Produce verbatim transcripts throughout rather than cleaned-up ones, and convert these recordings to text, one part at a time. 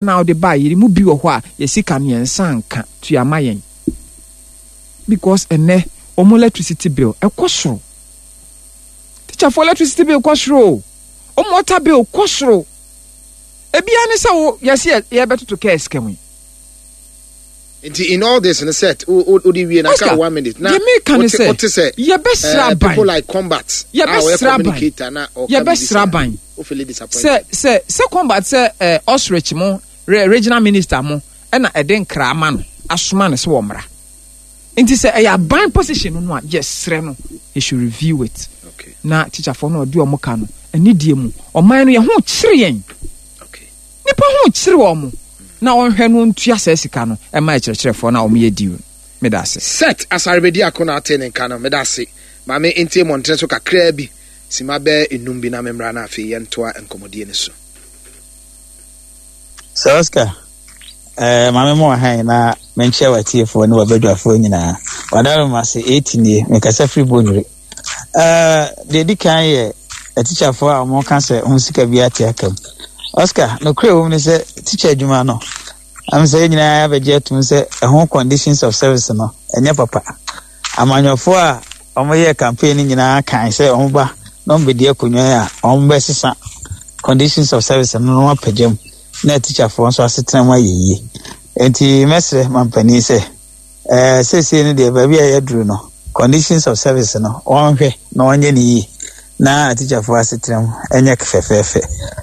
Na wode baa yɛn mu bi wɔ hɔ a, yɛ sika no yɛn nsa nka. Tua ma yɛn, because ɛnɛ wɔn electricity bill ɛkɔ soro. Teacherfoɔ electricity bill kɔ soro o, wɔn water bill kɔ soro. Ebia ne sɛ wo yɛsi yɛbɛtoto kɛɛ sika mu yi. Nti in all this no, set o o de wie na ka one minute na deɛ meka ne sɛ wote sɛ yɛbɛsrɛ eh, aban people like Combat a ɔyɛ yɛbɛsrɛ aban communicator na ɔka biribi yɛbɛsrɛ saa aban o feel disappointed. sɛ sɛ sɛ Combat sɛ ɛ ostrich mo re regional minister mo ɛna ɛde nkra ama no asoma no sɛ wɔmmra. Nti sɛ ɛyɛ aban position no no a, yɛsrɛ no, he should review it okay na teacherfoɔ no ɔde ɔmo ka no anidie mu. Ɔman no yɛn ho kyere yɛn, okay nipa ho kyere wɔn mo, na ɔnhwɛ no ntua saa sika no ɛma akyerɛkyerɛfoɔ no a wɔn yɛ diw. Meda ase. Set Asarebedi ako na ate ne nka no. Meda ase. Maame ntie mmɔntene so kakraa bi, sima bɛɛ enum bi, na memmra na afei yɛntoa nkɔmmɔdie no so. Sir Oscar, eh, maame mu wɔ han na menkyerɛ w'atiefoɔ ne w'abadwafoɔ nyinaa. Wadaro ma se eti nie, mekasa firi Bonyere. Eh, deɛ di kan yɛ atikyafoɔ a wɔka sɛ ho sika bi ate aka mu. Oscar, nokorɛ wɔ mu ne sɛ tikya adwuma no, am sɛ yɛn nyinaa abɛgye atum sɛ ɛho conditions of service no ɛnyɛ papa. Amanyɔfoɔ a wɔyɛ campaign no nyinaa kan sɛ wɔn ba na wɔn bɛdi akonnwa yi a, wɔn bɛsesa conditions of service no na wɔn apagya mu na atikyafoɔ nso asetena mu ayɛ yie. Nti mɛsrɛ mampanin sɛ ɛɛ seesei no deɛ, baabi a yɛaduru no, conditions of service no, wɔnhwɛ na wɔnyɛ ne yie na atikyafoɔ asetena mu ɛnyɛ fɛfɛɛfɛ,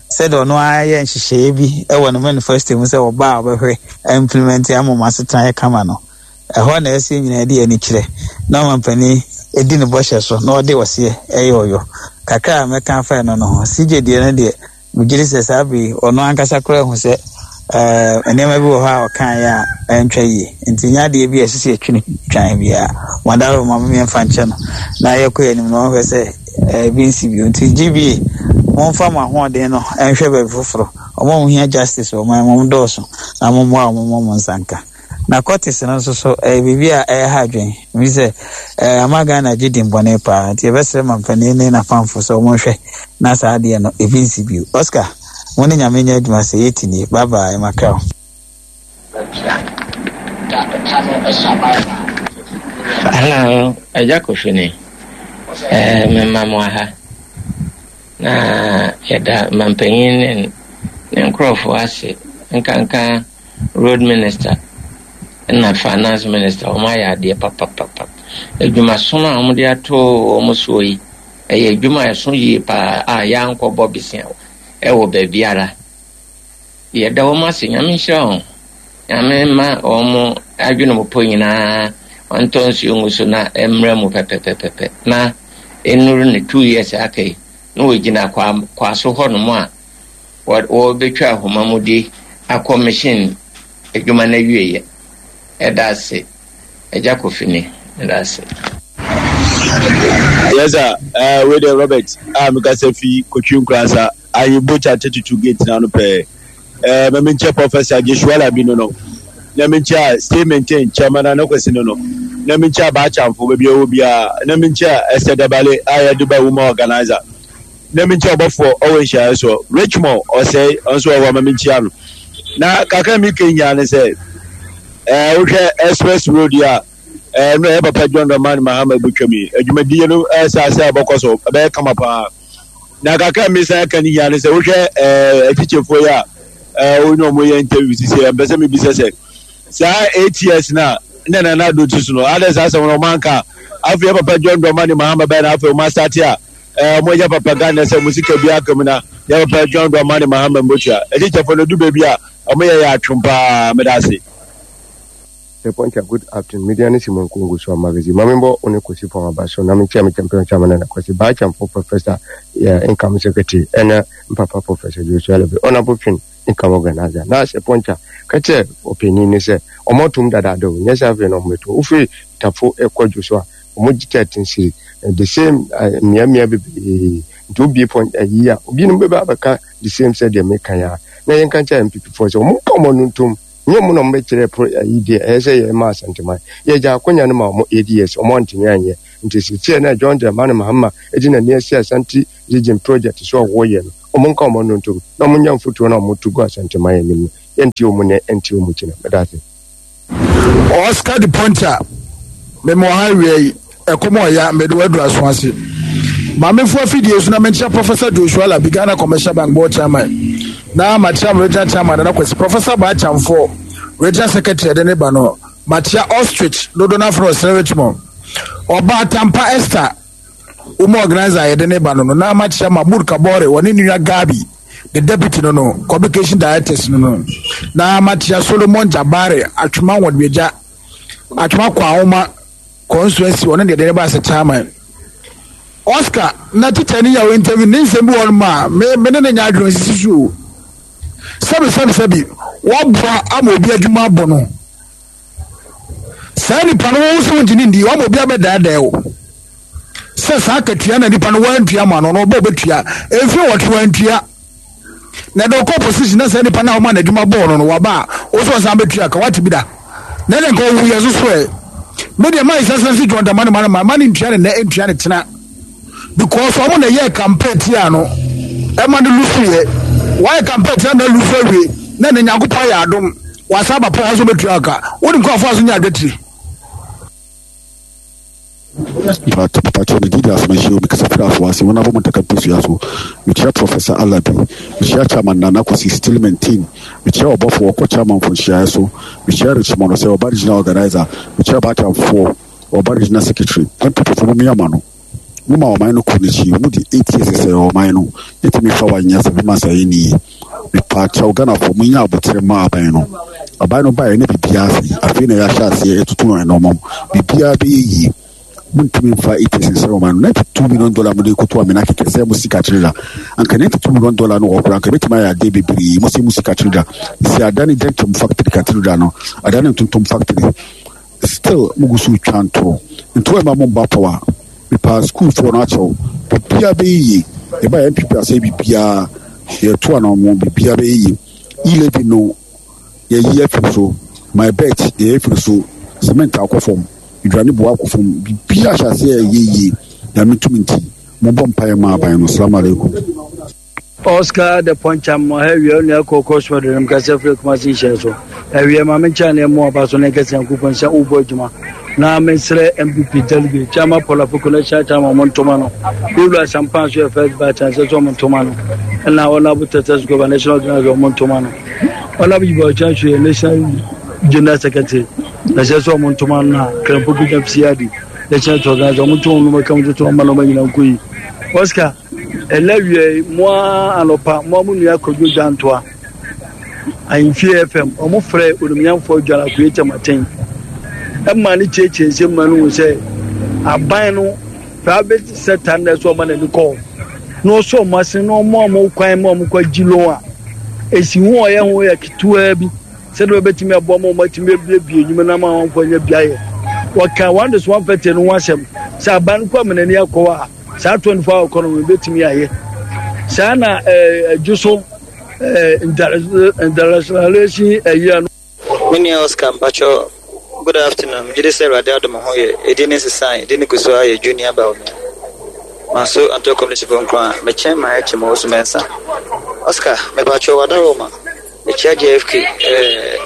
sɛdeɛ ɔno ara yɛ nhyehyɛeɛ bi ɛwɔ ne manifesto mu sɛ ɔbaa a ɔbɛhwɛ implement ama ɔmo asetena yɛ kama no. Ɛhɔ na ɛsɛ nyinaa de ani kyerɛ na ɔmampanin edi ne bɔhyɛ so na ɔde ɔseɛ ɛyɛ ɔyɔ. Kakra a mɛka afa ɛno no ho, C J deɛ no deɛ, megye di sɛ saa bere yi ɔno ankasa koraa hu sɛ ɛɛ nneɛma bi wɔ hɔ a ɔkaeɛ a ɛntwa yie, nti nyɛ adeɛ bi a ɛsɛ sɛ yɛtwi no twan biara. Wadaro ma mmiɛnfa nkyɛn no na yɛkɔ yɛn anim na ɔhwɛ sɛ ɛɛ bi nsi bio. Nti G B A, momfa mo ahoɔden no ɛnhwɛ baabi foforɔ. Ɔmo a wɔhia justice wɔ ɔman mu dɔɔso na mommoa a ɔmo mo nsa nka. Na cultist no nso so ɛyɛ biribi a ɛyɛ ha adwene mi sɛ ɛɛ ama Ghana gye din bɔne paa, nti yɛbɛsrɛ mampanin ne n'afamfo sɛ ɔmo nhwɛ na saa adeɛ no ebi nsi bio. Oscar, mo ne Nyame nyɛ adwuma sɛ yɛti nie. Bye bye, makra. Hello, Agya Kofi ni. Eh, mema mo aha. Na yɛda mampanyin ne ne nkurɔfoɔ ase, nkanka road minister na finance minister. Wɔn ayɛ adeɛ papapapa. Adwumasom a wɔde ato wɔn soɔ yi, ɛyɛ adwuma a ɛso yie paa a yɛankɔbɔ besia ɛwɔ baabiara. Yɛda wɔn ase. Nyame nhyira wɔn. Nyame ma wɔn adwene mu po nyinaa ɔntɔ nsuo ngu so na mmerɛ mu pɛpɛpɛpɛ na nnuru ne two years aka yi na wɔgyina kwa kwaso hɔnom a wɔbɛtwa ahoma mu de akɔ mission adwuma no awieɛ. Ɛda ase, Agya Kofi ni. Ɛda ase. Yes sir, uh, wei de Robert a mekasa fi Kotwi Nkurasa Ayebocha thirty-two gate na no pɛɛ. uh, ma menkyɛ Professor Joshua Labi no no na menkyɛ a stay maintain chairman Anakwasi no no na menkyɛ Abaachamfo baabi a ɛwɔ biara na menkyɛ Esther Dabale a yɛde ba woman organizer na menkyɛ ɔbɔfoɔ ɔwɔ nhyiaeɛ soɔ Richmond ɔsɛe ɔnso ɔwɔ ma menkyia no. Na kakra mi ka nyinaa ne sɛ ɛɛ wohwɛ express road yi a ɛɛ no ɛyɛ papa John Dramani Mahama bɛtwam yi, adwumadie no ɛsɛ ase a ɛbɛkɔ so ɛbɛyɛ kama paa. Na kakra mi san ka ne nyinaa ne sɛ wohwɛ ɛɛ akyikyefoɔ yi a ɛɛ wɔn ne wɔn yɛ interview sisi ɛ mpɛ sɛ mi bisa sɛ saa eight years na ne Nana Ado ti so no adɛ saa asɛm no ɔmo anka. Afei yɛ papa John Dramani Mahama bɛyɛ na afei ɔmo asate a ɛɛ ɔmo yɛ papa Ghana sɛ ɔmo sika bi aka mu na yɛ papa John Dramani Mahama mbotua. Akyikyefoɔ no du baabi a ɔmo yɛ yɛ atwom paa. Meda ase. Poncha, good afternoon. Media ne Simon Kungu so magazine. Mame bɔ one Kwesi Pɔn aba so na mekyia me champion chairman na Kwesi Baachamfo Professor, yeah, income secretary ɛna mpapa Professor Joshua Lebe Honorable Twin income organizer. Na sɛ Poncha ka kyerɛ ɔpanin ne sɛ ɔmo atom dadaada o, nyɛ sɛ afei na ɔmo bɛto wofiri Tafo ɛkɔ dwo so a, ɔmo gye thirteen cedi, the same mmeammea bebree. Nti obie pɔn ayi a obinom bɛba abɛka the same sɛ deɛ meka yɛ a, na yɛnka kyerɛ N P P foɔ sɛ ɔmo nka ɔmo ano ntom. Nyɛ ɔmo na ɔmo bɛkyerɛ pro ayi deɛ ɛyɛ sɛ yɛn ma Asanteman yɛgya akonya no ma ɔmo eight years, ɔmo antumi anyɛ. Nti sisiɛ na John Dramani Mahama edi n'ani asi Asante Region project so a wɔyɛ no, ɔmo nka ɔmo ano ntom na ɔmo nya mfotuo na ɔmo to gu Asanteman anim no. Yɛntie wɔn nnɛ, ɛntie wɔn kyena. Meda ase. Oscar de Poncha, mema ɔha awia yi, ɛkɔm ɔya, mede waduru aso ase. Maamefo afidie so na menkyia Professor Joshua Labi, Ghana Commercial Bank Board Chairman, na makyia me regional chairman Nana Kwasi, Professor Baachamfoɔ, regional secretary ɛde ne ba no, makyia Ostrich, dodo no afrɛ ɔsrɛ Richmond, Ɔbaa Tampa Esther, wɔn organizer yɛde ne ba no no, na makyia Mahmoud Kabore, wɔne ne nua Gabi, the deputy no no, communication directors no no, na makyia Solomon Jabare, Atwema Wɔdwagya, Atwema Kwahoma constituency, ɔno deɛ de ne ba sɛ chairman. Oscar na teacher ni yɛ interview ne nsɛm bi wɔ no ma me me ne ne nya adwene sisi so o. Sɛbi sɛbi sɛbi wɔboa ama obi adwuma abɔ no. Saa nipa no wɔn nso ntumi ndi wɔn obi abɛdaadaa o. Sɛ saa akatua na nipa no wɔantua ma no no ɔbɛ ɔbɛtua mfiri wɔtwe wɔantua. Na ɛdɛ ɔkɔ position na saa nipa no a wɔma n'adwuma bɔɔ no no waba a wɔso ɔsan bɛtua ka wate bi da. Na ɛdɛ nka ɔwu yɛ so so ɛ. Me deɛ maa ɛsɛ sɛ John Dramani Mahama ma ne ntua ne nɛ ntua ne kyena because ɔmo na ɛyɛ campaign tia no ɛma no lusu yɛ wɔayɛ campaign tia na lusu awie na ne Nyankopɔn ayɛ adom wasa aba pɔ ɔso bɛtua aka wonim kɔ afɔ aso nyɛ adwatiri. Mpakyɛw me didi asɛm ahyia omi kasa firi aso ase wɔn abɔ mo ntaka mpesua so mekyia Professor Alabi mekyia Chairman Nana Kwasi still maintain mekyia ɔbɔfo ɔkɔ Chairman fo nhyiaeɛ so mekyia Richmond sɛ ɔba regional organizer mekyia Batamfoɔ ɔba regional secretary N P P fo mo miyama no mo ma ɔman no kɔ n'akyi mo di eight years sɛ ɔman no yɛtumi fa wa nyɛ sɛ bi ma sɛ ɛyɛ ni mepakyɛw Ghana fo mo nya abotire ma aban no aban no baeɛ ne biribiara ase afei na yɛahyɛ aseɛ ɛtutu ɛnɔmɔm biribiara bɛyɛ yie muntumi mfa eight years nsɛ ɔman no ninety two million dollar mo de koto amena kɛkɛ sɛ mo sika kyerɛ da anka ninety two million dollar no wɔ kora anka ebɛtumi ayɛ adeɛ bebree mo sɛ mo sika kyerɛ da si adane dentum factory cathedral no adane ntontom factory still mo gu so twa ntoro ntoro ɛma mo mba power mepa school foɔ no akyɛw biribiara bɛyɛ yie ɛba yɛ N P P asɛ biribiara yɛto ano mo biribiara bɛyɛ yie eleven no yɛyi afiri so my bet yɛyɛ afiri so cement akɔ fam aduane boa akɔ fam biribiara hyɛ aseɛ ɛyɛ yie nyame tumi nti mobɔ mpaeɛ ma aban no. Salamu alaikum. Oscar de Poncha mo ha wie onua kɔkɔ so de nam kasa firi Kumasi nhyɛ so awie ma me nkyɛn ne mu aba so ne nkɛse Nyankopɔn sɛ wobɔ adwuma na mesrɛ M P P delegate Chairman Paul Afoko na hyɛ chairman mo ntoma no Yɛwura Sampan so yɛ first batch and sɛ ɔmo ntoma no ɛna Honorable Tetes Goba national organizer ɔmo ntoma no Honorable Yibo Ɔkyɛn so yɛ national general secretary na sɛ sɛ ɔmo ntoma no na Krampo bi C I D national organizer ɔmo ntoma no mɛka mo toto ɔmo na ɔmo nyina nkɔ yi Oscar ɛlɛ wie mo anɔpa mo mo nua Kwadwo Gyantoa Ahemfie F M ɔmo frɛ onimnyamfoɔ Adwala Koye Kyamaten ɛma ne kyerɛkyerɛ nsɛm ma no hu sɛ aban no private sector na ɛsɛ ɔma n'ani kɔɔ na ɔsɔ ɔmo ase na ɔmo a ɔmo kwan ma ɔmo kɔ gyi loan a esi ho ɔyɛ ho yɛ ketewa bi sɛdeɛ ɔbɛtumi aboa ma ɔmo atumi abiebie nnwuma na ama wɔn anya biayɛ wɔka one this one fɛte no ho asɛm sɛ aban kɔ ama n'ani akɔ a saa twenty four hour economy bɛtumi ayɛ saa na ɛdwo so internationalization ɛyɛ no. Me nua Oscar Mpacho, good afternoon. Megye di sɛ Awurade adom ho yɛ ɛdi ne nsesan ɛdi ne gu so ayɛ junior ba onua. Manso Anto Community fo nkron a mekyɛn ma ɛkyɛ ma osu mɛnsa. Oscar, mepacho wadaroma. Mekyia J F K, eh,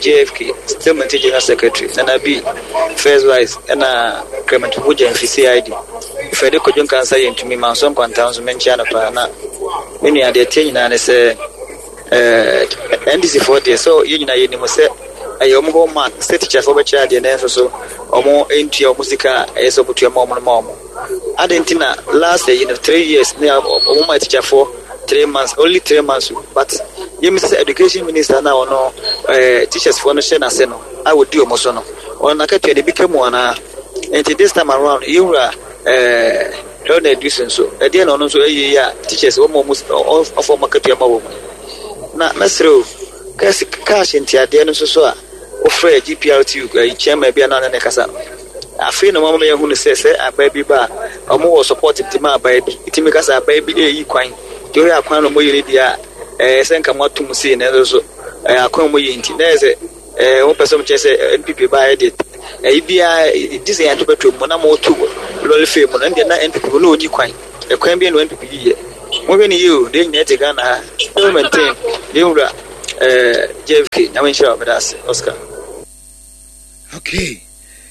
J F K, still maintain General Secretary, Nana B, First Vice, ɛna Clement Pupu Gyamfi C I D. Fɛde Kwadwo Nkansa yɛ ntumi manso nkwanta nso menkyia no paa na me nua deɛ tie nyinaa ne sɛ eh, N D C foɔ deɛ sɛ yɛn nyinaa yɛnim sɛ ɛyɛ ɔmo hɔ man sɛ teacher foɔ bɛkyerɛ adeɛ nanso so ɔmo ntua ɔmo sika a ɛyɛ sɛ ɔmo tua ma ɔmo no ma ɔmo. Ade nti na last year, you know, three years ne ɔmo ma teacher foɔ three months, only three months but yɛm sɛ education minister na ɔno eh, teachers foɔ no hyɛ n'ase no a wɔdi ɔmo so no ɔno n'akatua de bi ka mu anaa nti this time around yɛwura eh, Leonard Duson nso ɛdeɛ na ɔno nso ɛyɛ yi a teachers wɔn ɔmo ɔfɔ ɔmo akatua ma wɔn na mɛsrɛ o kɛse cash ntiadeɛ no nso so a wofrɛ G P R T U ɛyi chairman bi a na ne kasa no afei na wɔn ama yɛn hu no sɛ sɛ abaa bi ba a ɔmo wɔ support nti ma abaa bi nti mi kasa abaa bi ɛyi kwan nti oyɛ akwan na ɔmo yɛ ne deɛ a ɛɛ sɛ nka mo atum sei na nso so ɛɛ akwan ɔmo yɛ nti na yɛ sɛ ɛɛ wɔn pɛ sɛ ɔmo kyerɛ sɛ N P P ba yɛ deɛ ɛyi biara di sɛ yɛn ato bɛtɔ mu na mo to lɔri fɛ mu na ɛdeɛ na N P P na onyi kwan ɛkwan bi na N P P yɛ mo hwɛ ne yie o deɛ nyinaa te Ghana ha mo maintain deɛ nwura Eh, J F K, Nyame nhyira wo, meda ase, Oscar. Okay,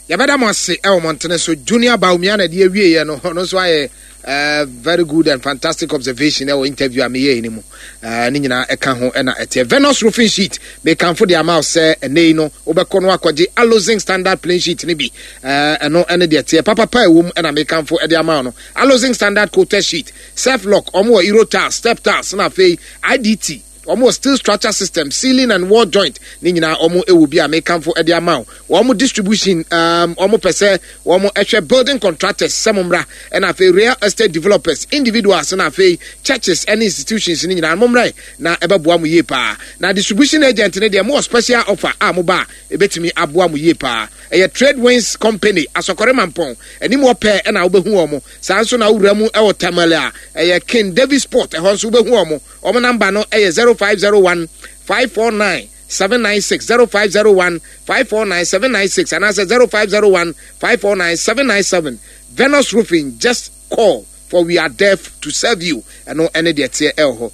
yɛbɛda mo ase ɛwɔ mmɔntene so. Junior Bawumia na ɛde awieɛ no, ɔno nso ayɛ uh, very good and fantastic observation ɛwɔ interview a meyɛɛ no mu. uh, ne nyinaa ɛka ho ɛna ɛteɛ. Venus Roofing Sheet, mekamfo de ama wo sɛ ɛnɛ yi no wobɛkɔ no akɔgye Alozinc Standard Plain Sheet no bi. Ɛno ɛne deɛ teɛ papapa ɛwɔ mu ɛna mekamfo ɛde ama wo no. Alozinc Standard Coated Sheet, self lock, ɔmo wɔ Euro tiles, step tiles, na afei I D T, wɔn wɔ steel structure system, ceiling and wall joint ne nyinaa wɔn wɔ bi a mekamfo de ama wo. Wɔn distribution, um, wɔn pɛ sɛ wɔn hwɛ building contractors sɛ mo mmra, ɛna afei real estate developers, individuals, na afei churches ɛne institutions ne nyinaa mo mmra na ɛbɛboa mo yie paa. Na distribution agent ne deɛ, mo wɔ special offer a mo ba a ebɛtumi aboa mo yie paa. Ɛyɛ Trade Winds Company, Asɔkɔre Mampɔn anim wɔ pɛɛ ɛna wobɛhu wɔn. Saa nso na wowura mu ɛwɔ Tamale a, ɛyɛ King Davis Sport, ɛhɔ nso wobɛhu wɔn. Wɔn number no ɛyɛ zero five zero one five four nine seven nine six, zero five zero one five four nine seven nine six, anaasɛ zero five zero one five four nine seven nine seven. Venus Roofing, just call, for we are there to serve you. Ɛno ɛne deɛ teɛ ɛwɔ hɔ.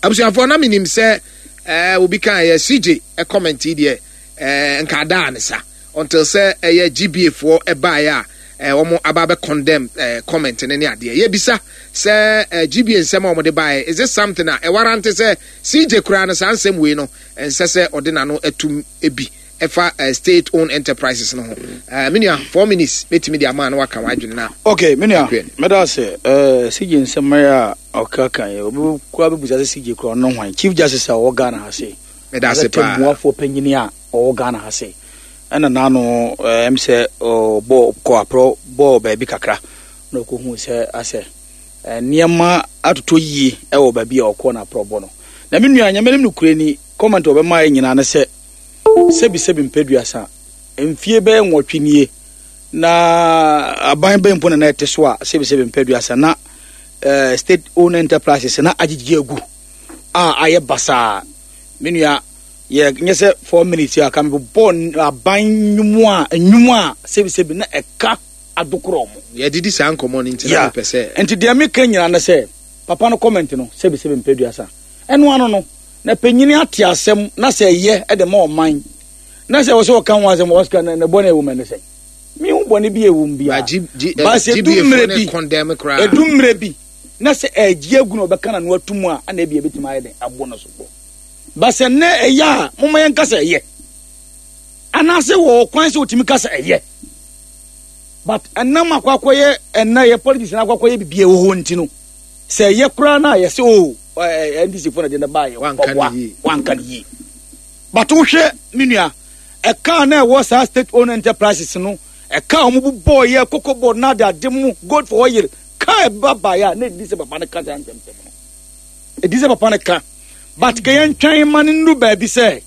Abusuafoɔ, na menim sɛ ɛɛ obi kan yɛ C J ɛcomment yi deɛ, ɛɛ nka adaa ne sa until sɛ ɛyɛ G B A foɔ ɛbaeɛ a ɛɛ wɔn aba abɛ condemn ɛɛ comment ne ne adeɛ. Yɛbisa sɛ ɛɛ G B A nsɛm a wɔde baeɛ, is it something a ɛwarrant sɛ C J koraa no saa nsɛm wei no ɛnsɛ sɛ ɔde n'ano atum ebi ɛfa ɛɛ state owned enterprises no ho? ɛɛ me nua, four minutes mɛtumi de ama na waka w'adwene na. Okay, me nua, mɛda ase. ɛɛ C J nsɛm a ɔka kan yɛ, obi kura bɛbusa sɛ C J kura ɔno hwan? Chief Justice a ɔwɔ Ghana ha se Mɛda ase paa. Tɛmmuafoɔ panyini a ɔwɔ Ghana ha se ɛna n'ano ɛm sɛ ɔbɔ kɔ aporɔ bɔɔ baabi kakra na ɔkɔhu sɛ asɛ nneɛma atotɔ yie ɛwɔ baabi a ɔkɔ na aporɔ bɔ no. Na me nua, Nyame nim no kure ni, comment a ɔbɛma yɛ nyinaa ne sɛ sɛbi sɛbi mpɛduasa mfie bɛyɛ nwɔtwe nie na aban bɛn mpo na na ɛte so a sɛbi sɛbi mpɛduasa na uh, state owned enterprises na agyegye agu a ayɛ basaa. Me nua, yɛ nyɛ sɛ four minutes a ka mebobɔ aban nnwom a nnwom a sɛbi sɛbi na ɛka adokorɔ mo. Yɛdidi saa nkɔmmɔ no nti na mepɛ sɛ nti deɛ meka nyinaa ne sɛ papa no comment no, sɛbi sɛbi mpɛduasa, ɛno ano no na panyini ate asɛm na sɛ ɛyɛ ɛde ma ɔman na sɛ wɔ sɛ ɔka ho asɛm, Oscar, na bɔne ɛwɔ mu ɛne sɛ mehu bɔne bi ɛwɔ mu biara. Ba sɛ ɛdu mmerɛ bi ɛdu mmerɛ bi na sɛ ɛgye agu na ɔbɛka na no ato mu a, ana ebi ebɛtumi ayɛ den abɔ no so bɔ. Ba sɛ nnɛ ɛyɛ a, momma yɛnka sɛ ɛyɛ anaasɛ wɔ kwan sɛ wɔtumi ka sɛ ɛyɛ, but ɛnam akɔ akɔyɛ ɛnna yɛ politics na akɔ akɔyɛ bibi ɛwɔ hɔ nti no, sɛ ɛyɛ koraa na yɛsɛ o N D C fo na de ne ba yɛ ɔboa wanka ne yie. But wohwɛ, me nua, ɛka na ɛwɔ saa state owned enterprises no, ɛka a wɔn bobɔ yɛ Cocoa Board na ade ade mu, Gold for Oil ka ɛba baeɛ a, na edi sɛ papa no ka saa nsɛmsɛm no, edi sɛ papa no ka. But kɛ yɛn twɛn ma no nuru baabi sɛ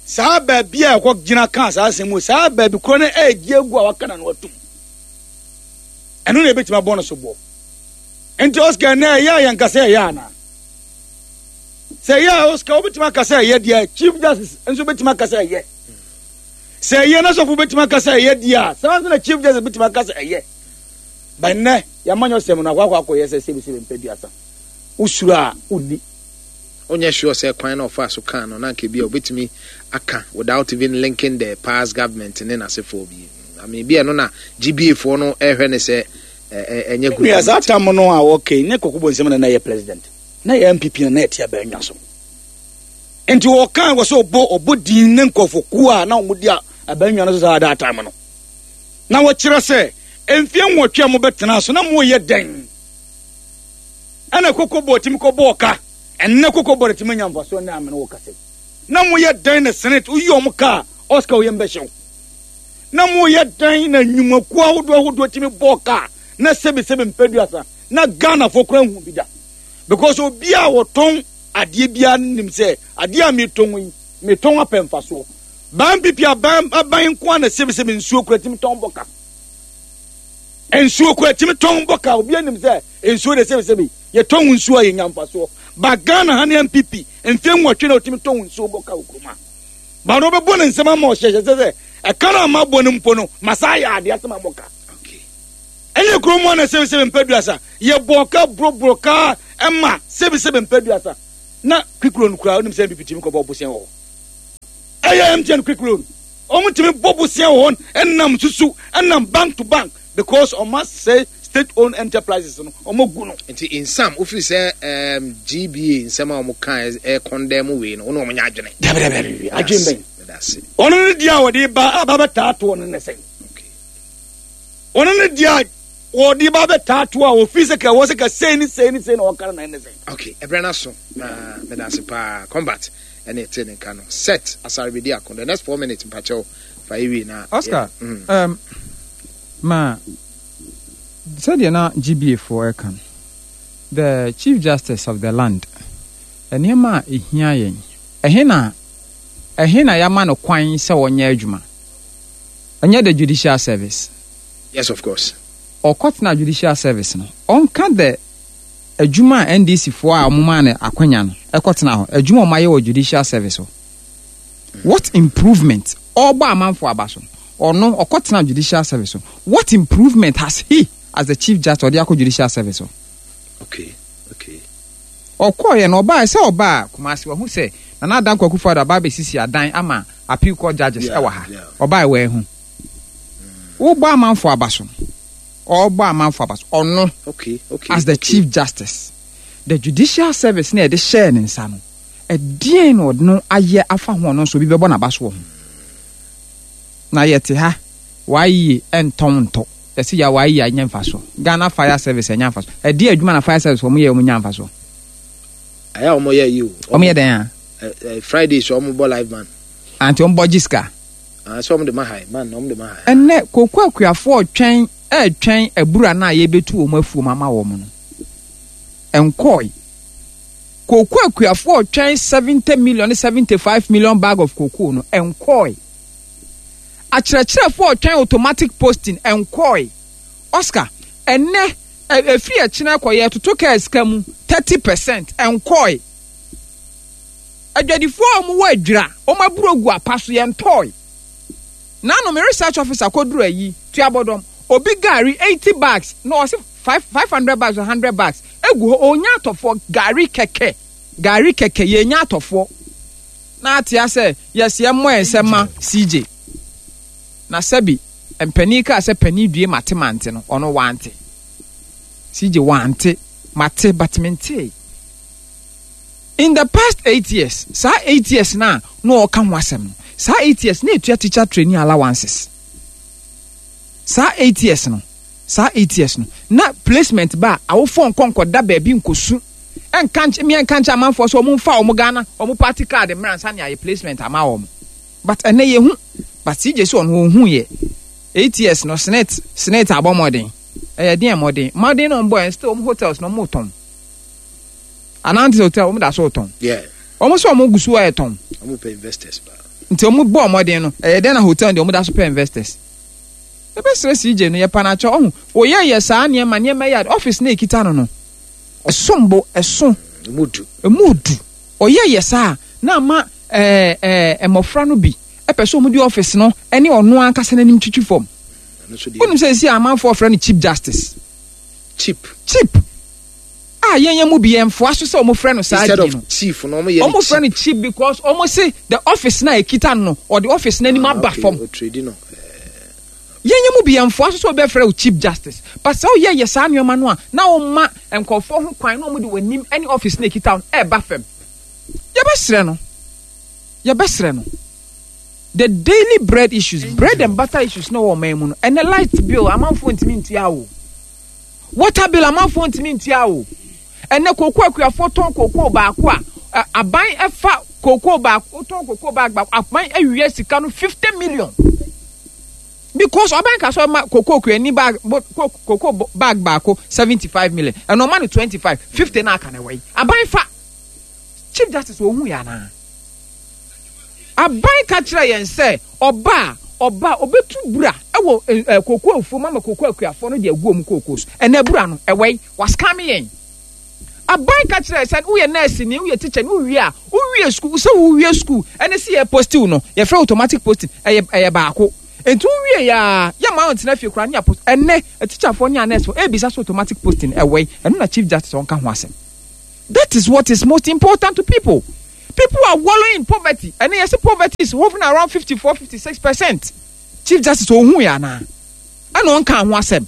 saa baabi a ɛkɔ gyina ka saa asɛm mu, saa baabi korɔ no ɛɛgye agu a waka na no atum, ɛno na ebɛtumi abɔ no so boɔ. Nti Oscar, na ɛyɛ a yɛn kasa ɛyɛ ana sɛ ɛyɛ a, Oscar, wobɛtumi aka sɛ ɛyɛ deɛ, Chief Justice nso bɛtumi aka sɛ ɛyɛ. Sɛ ɛyɛ na sɔfo bɛtumi aka sɛ ɛyɛ deɛ a, saa nso na Chief Justice bɛtumi aka sɛ ɛyɛ. Bɛnnɛ yɛama nyɛ ɔsɛm no akɔ akɔ akɔyɛ sɛ sɛbisɛbi mpɛ duasa wosuro a wonni. Wonyɛ sure sɛ kwan na ɔfa so kan no na nka bi a obetumi aka without even linking the past government ne n'asefoɔ bi? I mean, bi ɛno na G B A foɔ no ɛhwɛ ne sɛ ɛnyɛ good. Nua, saa tam no a wɔkɛ ne kɔkɔ bɔ nsɛm na na yɛ president na yɛ N P P na na yɛte abɛnwa so, nti wɔka wɔ sɛ ɔbɔ ɔbɔ din ne nkɔfokuo a na wɔn di abɛnwa no so saa that time no na wɔkyerɛ sɛ mfie nwɔtwe a mobɛtena so na moyɛ dɛn ɛna Cocoa Board tumi kɔ bɔɔ ka. Ɛnnɛ Cocoa Board tumi nya mfasoɔ ne amene wɔ kasa na moyɛ dɛn na SSNIT woyi ɔmo kaa, Oscar, woyɛ mbɛhyɛw na moyɛ dɛn na nnwumakuo ahodoɔ ahodoɔ tumi bɔɔ kaa na sɛbisɛbi mpɛduasa na Ghanafoɔ kora hu bi da, because obiara wɔtɔn adeɛ biara nim sɛ adeɛ a metɔn yi, metɔn apɛ mfasoɔ. Ban pipi aban aban nko a na sɛbisɛbi nsuo kura tumi tɔn bɔ ka, nsuo kura tumi tɔn bɔ ka. Obiara nim sɛ nsuo de sɛbisɛbi yɛtɔn nsuo a yɛnya mfasoɔ ba. Ghana ha ne N P P mfe nwɔtwe na otumi tɔn nsuo bɔ ka wɔ kurom a ba na ɔbɛbɔ ne nsɛm ama ɔhyɛhyɛ sɛ sɛ ɛka no ama bɔ no mpo no masa ayɛ adeɛ asɛm amɔ ka. Ɛnyɛ kurom a na sɛbisɛbi mpɛduasa yɛbɔ ka boroboro kaa ɛma sɛbisɛbi mpɛduasa. Na quick loan koraa, wonim sɛ N P P tumi kɔbɔ bosea wɔ hɔ. Ɛyɛ M T N quick loan, ɔmo tumi bɔ bosea wɔ hɔ, ɛnam susu ɛnam bank to bank, because ɔmo asɛ state owned enterprises no, ɔmo gu no. Nti nsam wofiri sɛ um, G B A nsɛm a wɔn ka ɛ condemn wei no, wɔn na wɔn nyɛ adwene. Dabidabi, adwene bɛn? Meda ase. Ɔno ne deɛ a wɔde ba aba bɛtaa toɔ no ne sɛn? Okay. Ɔno ne deɛ a wɔde ba bɛtaa toɔ a wɔfiri sɛ ka wɔ sɛ ka sei ne sei ne sei na wɔka no na ɛne sɛn? Okay, ɛbrɛ no so na meda ase paa. Combat ɛne ɛte ne nka no set asare ako the next four minutes, mpakyɛw, fa ewie na. Oscar, Yeah. Mm. um, ma sɛdeɛ na G B A foɔ ɛka no, the Chief Justice of the land, nneɛma a ɛhia yɛn, ɛhe na ɛhe na yɛama no kwan sɛ wɔnyɛ adwuma? Ɛnyɛ the judicial service? Yes, of course. Ɔkɔtena judicial service no, ɔnka the adwuma a N D C foɔ a ɔmomaa no akwanya no ɛkɔtena hɔ, adwuma a ɔmayɛ wɔ judicial service hɔ, what improvement? Ɔbɔ amanfoɔ aba so, ɔno ɔkɔtena judicial service hɔ, what improvement has he as the Chief Justice ɔde akɔ judicial service hɔ? Okay okay Ɔkɔɔyɛ no, ɔbaa sɛ ɔbaa Kumasi, wahu sɛ Nana Adanko Akufo-Addo aba abɛsisi adan ama appeal court judges Yeah, ɛwɔ ha. yeah. Ɔbaa, wɔahu wobɔ amanfoɔ aba so, ɔbɔ amanfoɔ aba so, ɔno okay okay as the okay. Chief Justice, the judicial service na yɛde hyɛɛ ne nsa no, ɛdeɛn na ɔde no ayɛ afa ho? Ɔno nso obi bɛbɔ n'aba so wɔ ho. Na yɛte ha, waayie ɛntɔn ntɔ, yɛsi yɛ waayie anya nfa so, Ghana Fire Service ɛnya nfa so. Ɛdeɛ adwuma na fire service wɔn yɛ, wɔn nya nfa so? Ɛyɛ a wɔn yɛ yi o. Wɔn yɛ dɛn a? Ɛ ɛ Friday so wɔn bɔ live band. Anti wɔn bɔ gye sika? Ah, sɛ wɔn de ma ha man na wɔn de ma ha. Ɛnɛ koko akuafoɔ twɛn, ɛɛtwɛn abura no a yɛbɛtu wɔn afuom ama wɔn no, ɛnkɔɔe. Koko akuafoɔ twɛn seventy million, seventy five million bag of cocoa no, ɛnkɔɔe. Akyerɛkyerɛfoɔ twɛn automatic posting, ɛnkɔɔe. Oscar, ɛnɛ efiri ɛkyinɛ kɔ, yɛ toto kaa sika mu thirty percent, ɛnkɔɔe. Adwadifoɔ a wɔwɔ adwira, wɔn aburo gu apa so, yɛn tɔɔe. Nanu mi research officer kɔduru ayi tuabɔdɔm, obi gari eighty bags na ɔsi five five hundred bags or hundred bags egu hɔ, onya atɔfoɔ. Gari kɛkɛ, gari kɛkɛ, yɛnya atɔfoɔ. Na atea sɛ yɛsi ɛmɔ yɛn nsɛm ma C J na sɛbi mpanin kaa sɛ panin due mate mante no, ɔno wante. C J wante mate, but mente in the past eight years, saa eight years na na ɔka ho asɛm no, saa eight years na etua teacher training allowances. Saa eight years no, saa eight years no na placement ba a, awofoɔ nkɔ nkɔda baabi nkɔsu ɛnka nkyɛn mmea nka nkyɛn amanfoɔ sɛ ɔmo nfa ɔmo Ghana ɔmo party card mmerɛ ansa ne ayɛ placement ama wɔn. But ɛnɛ yɛ hu, but C J sɛ ɔno ɔhu yɛ eight years no, SSNIT SSNIT abɔ mmɔden, ɛyɛ deɛ mmɔden mmɔden na ɔmo bɔ yɛn, still ɔmo hotels na ɔmo tɔn anante hotel, ɔmo da so tɔn. Yeah. Ɔmo sɛ ɔmo gu so ɛyɛ tɔn. Wɔn pɛ investors ba. Nti ɔmo bɔ ɔmɔden no, ɛyɛ dɛn na hotel deɛ ɔmo da so pɛ investors? Ɛbɛsrɛ C J no, yɛ panakyɛ ɔho oyɛ yɛ saa nneɛma nneɛma yɛ office na ekita no no ɛsom bo, ɛso. Emu du. Emu du. Ɔyɛ yɛ saa na ama ɛɛ ɛɛ mmɔfra no bi ɛpɛ sɛ ɔmo di office no ɛne ɔno ankasa n'anim twitwi fam. Ɛno nso deɛ. Wonim sɛ esi amanfoɔ frɛ no Cheap Justice? Cheap. Cheap a yɛn yɛn mu bi yɛn foa so sɛ ɔmo frɛ no saa Instead din of no. chief no, wɔn yɛ Ɔmo frɛ no cheap because ɔmo se the office na ekita no no, ɔde office n'anim aba fam. Otredi no. Yɛn yɛn mu bi yɛn foa so sɛ ɔbɛfrɛ wo Cheap Justice, but sɛ ɔyɛ yɛ saa nneɛma no a, na ɔma nkɔfoɔ ho kwan na ɔmo de wɔn anim ɛne office na ekita no ɛɛba fam. Yɛbɛsrɛ no, yɛbɛsrɛ no, the daily bread issues, bread and butter issues na wɔ ɔman mu no, ɛnɛ light bill amanfoɔ ntumi ntua o, water bill amanfoɔ ntumi ntua o. Ɛnɛ koko akuafoɔ tɔn koko baako a, ɛ, aban ɛfa koko baako, tɔn koko bag baako, aban awia sika no fifty million because ɔban ka so ɔma koko kuani bag bo koko bo- bag baako seventy five million, ɛna ɔma no twenty five, fifty na aka na ɛwɔ yi aban fa. Chief Justice ohun yɛ anaa? Aban ka kyerɛ yɛn sɛ ɔba a ɔba a obetu bura ɛwɔ ɛ ɛ koko afuom ama koko akuafoɔ no de agu wɔn koko so. Ɛnɛ bura no ɛwɔ yi, wascam yɛn. Aban ka kyerɛ sɛ woyɛ nurse ni, woyɛ teacher ni, wowie a wowie school, sɛ wowie school ɛne sɛ yɛ post wo no, yɛfrɛ automatic posting, ɛyɛ ɛyɛ baako. Nti wowie yɛ a, yɛ maa ɔntena fie koraa ne yɛ post. Ɛnɛ teacherfoɔ ne a nurse foɔ ebisa so automatic posting ɛwɔ yi. Ɛno na Chief Justice ɔnka ho asɛm. That is what is most important to people. People are wallowing in poverty. And yes, poverty is hovering around fifty-four, fifty-six percent. Chief Justice ohu ya na. Ɛna ɔnka ho asɛm.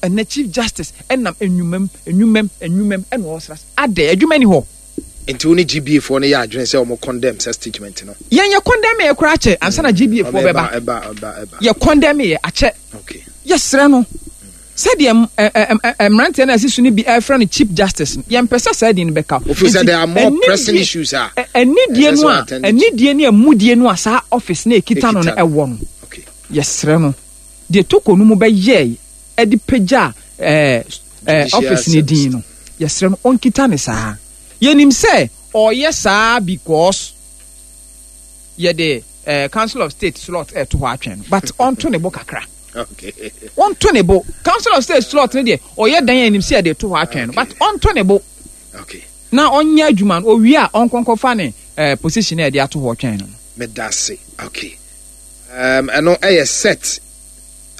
Ɛnɛ Chief Justice ɛnam enwumam, enwumam, enwumam ɛna ɔsra. Adɛ adwuma ni hɔ. Nti wo ne G B A foɔ no yɛ adwene sɛ ɔmo condemn sɛ statement no. Yɛn yɛ condemn yɛ koraa akyɛ ansa na G B A foɔ bɛba. Ɛba, ɛba, ɛba, ɛba. Yɛ condemn yɛ akyɛ. Okay. Yɛsrɛ no. Sɛdeɛ m-, ɛ, ɛ, ɛ, ɛ, mmeranteɛ no a ɛsi so no bi ɛfrɛ no Chief Justice no, yɛmpɛ sɛ saa din no bɛka. Ofi sɛ Nti, there are more ɛnidie pressing issues a ɛ, ɛnidie ɛsɛ no sɛ a, attend to. ɛnidie ne ɛmudie no a saa office na ɛkita no no Ɛkita no. ɛwɔ no. Okay. Yɛsrɛ no. Deɛ toko no mu bɛyɛɛ ɛde pagya, ɛ, ɛ, Judicial office ne din service. no. Yɛsrɛ no, ɔnkita ne saa. Yɛnim sɛ ɔyɛ saa because yɛde, eh, Council of State slot ɛto hɔ atwɛn no, but ɔnto ne bo kakra. Okay. Ɔnto ne bo. Council of State slot ne deɛ ɔyɛ dan a yɛnim sɛ yɛde to hɔ atwɛn no, but ɔnto ne bo. Okay. Na ɔnyɛ adwuma no, owie a ɔnkɔnkɔfa ne, eh, position a yɛde ato hɔ twɛn no. Medase. Okay. Um, ɛno ɛyɛ set.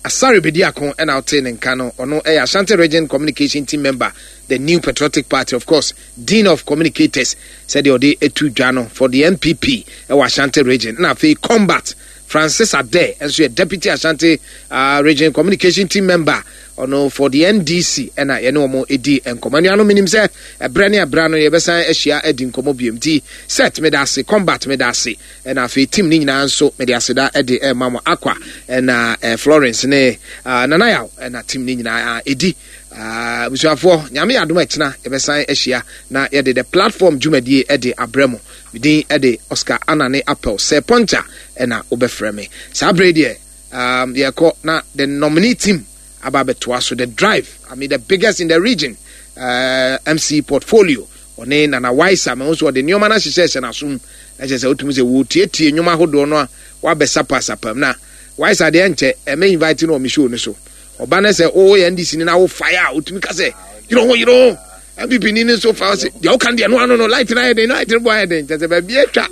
Asare Bediako ɛna ɔte ne nka no, ɔno ɛyɛ Ashanti Region Communication Team member, the New Patriotic Party, of course, Dean of Communicators, sɛdeɛ ɔde etu dwa no for the N P P ɛwɔ Ashanti Region. Na afei Combat Francis Ade nso yɛ Deputy Ashanti, uh, Region Communication Team member, ɔno for the N D C, ɛna yɛne wɔn edi nkɔmɔ. Anuanom, menim sɛ ɛbrɛ ne ɛbrɛ no yɛbɛsan ahyia adi nkɔmɔ biom. Nti set meda ase, Combat meda ase, ɛna afei team ne nyinaa nso mede aseda ɛde ɛma mo. Akwa ɛna, eh, Florence ne, ah, Nana Yaw ɛna team ne nyinaa edi. Ah, abusuafoɔ, Nyame yɛ adom ɛkyena yɛbɛsan ahyia na yɛde the platform dwumadie ɛde abrɛ mo. Medin ɛde Oscar Anane Appel sɛ Poncha ɛna wobɛfrɛ me. Saa bere deɛ, um, yɛkɔ na the nominee team aba abɛtoa so, the drive, I mean the biggest in the region, uh, M C portfolio ɔne Nana Waisa ma nso ɔde nneɛma no ahyehyɛ hyɛ n'asom. Na kyerɛ sɛ wotumi sɛ wɔtietie nnwoma ahodoɔ no a wabɛsapasapa mu. Na Waisa deɛ nkyɛ ɛmɛ invite no wɔ me show no so. Ɔba no sɛ woyɛ N D C ni na wo fire a wotumi ka sɛ yere ho, yere ho. M P P ni ne nso fa sɛ deɛ woka no deɛ no ano no, light no ayɛ den, light no bɔ ayɛ den. Kyerɛ sɛ baabi atwa.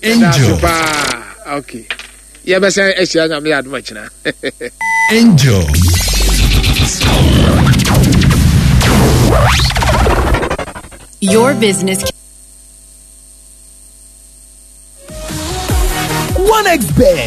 Angel. Paa. Okay. Yɛbɛsɛn ahyia Nyame yɛ adom akyina. Angel. Your business. One X Bet,